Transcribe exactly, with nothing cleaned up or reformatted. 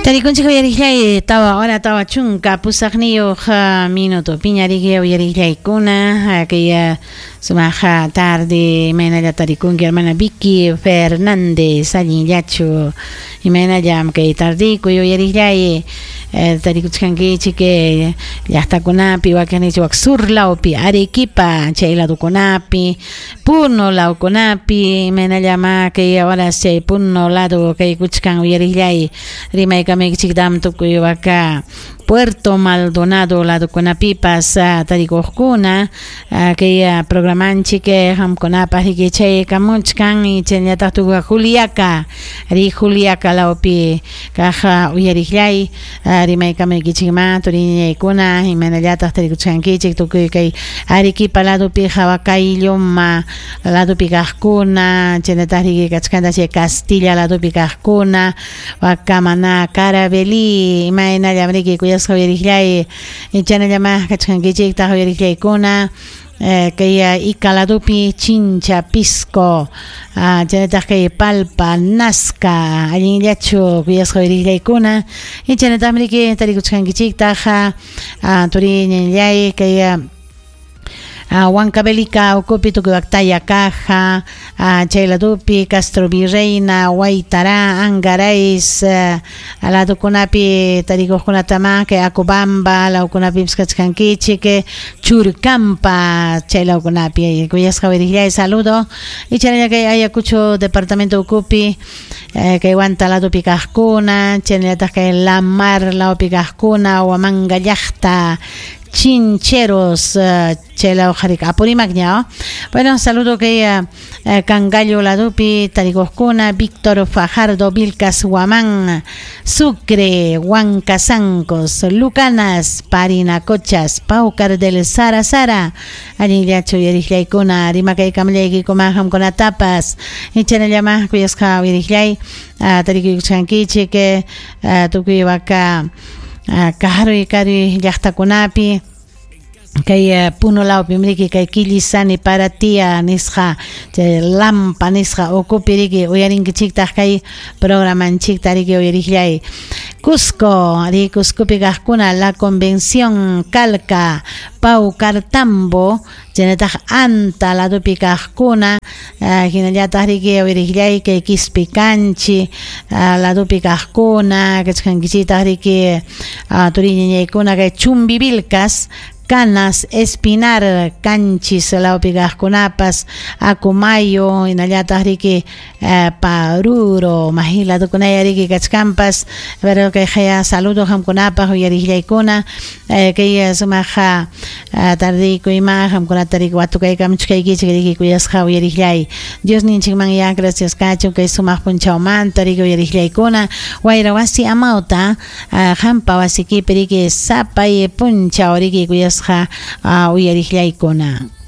Tarikunchik uyariqllay tawa hora tawa chunka pusaqniyuq minuto piñariki uyariqllaykuna kay sumaqa tarde imaynalla tarikunki hermana Vicky Fernández allinllachu imaynallam kay tardikuy uyariqllay tarikuchkankichik llaqtakunapi wakinnichik wak sur lawpi Arequipa chay ladukunapi Puno lawkunapi imaynallama kay horas chay Puno lado kaykuchkan uyariqllay rimaykamaykichiktam tukuy waka Puerto Maldonado ladukunapipas tarikuqkuna kay programanchik qamkunapaq riki chay kamuchkan chaynallataq tukuy Juliaca ri Juliaca lawpi kaq uyariqllay rimaykamaykichikman turiñaykuna imaynallataq tarikuchkankichik tukuy kay Arequipa ladupi Huacailloma ladupi kaqkuna chaynallataq riki kachkanta chay Castilla ladupi kaqkuna wakamana Carabelí imaynallam riki kuyasqa uyariqllay chaynallama kachkankichiktaq uyariqllaykuna kay Ica ladupi Chincha Pisco chaynallataq kay Palpa Nazca allinllachu kuyasqa uyariqllaykuna chaynallataqmi riki tarikuchkankichiktaq turiñallay kay Huancavelica ukupi tukuy Taya Caja chay ladupi Castro Virreina Huaytará Angarais ladukunapi tarikuqkunatama kay Acobamba lawkunapi kachkankichik Churcampa chay lawkunapi kuyasqa uyariqllay saludo y chaynalla kay Ayacucho departamento ukupi kay Huanta ladupi kaqkuna chaynallataq kay La Mar lawpi kaqkuna Huamanga llaqta Chincheros chay law qarik Apurímac ña. Bueno, saludo kay Cangallo ladupi tarikuqkuna Víctor Fajardo Vilcas Huamán Sucre Huancasancos Lucanas Parinacochas Paucar del Sara Sara allinllachu uyariqllaykuna rimakaykamllaykikuma qamkunatapas chaynallama kuyasqa uyariqllay tarikuykuchkankichik tukuy waka karuy karuy llaqtakunapi kay Puno lawpi riki kay Quillisani Paratia nisqa chay Lampa nisqa ukupi riki uyarinkichiktaq kay programanchikta riki uyariqllay Cusco ri Cuscopi kaqkuna La Convención Calca Paucartambo chaynallataq Anta ladupi kaqkuna hinallataq riki uyariqllay kay Quispicanchi ladupi kaqkuna kachkankichiktaq riki turiñañaykuna kay Chumbivilcas Canas, Espinar, Canchis, lawpi kaqkunapas, Acomayo, hinallataq riki Paruro, mahi ladukunaya riki kachkanpas, pero kay haya saludo qamkunapaq uyariqllaykuna, kay sumaqa tardikuyma qamkunata riki watukaykamuchkaykichik riki kuyasqa uyariqllay. Dios ninchikman ya gracias kachun kay sumaq punchawmanta riki uyariqllaykuna, wayra wasi amawta qampa wasikipi riki sapay punchaw riki kuyasqa uyariqllaykuna.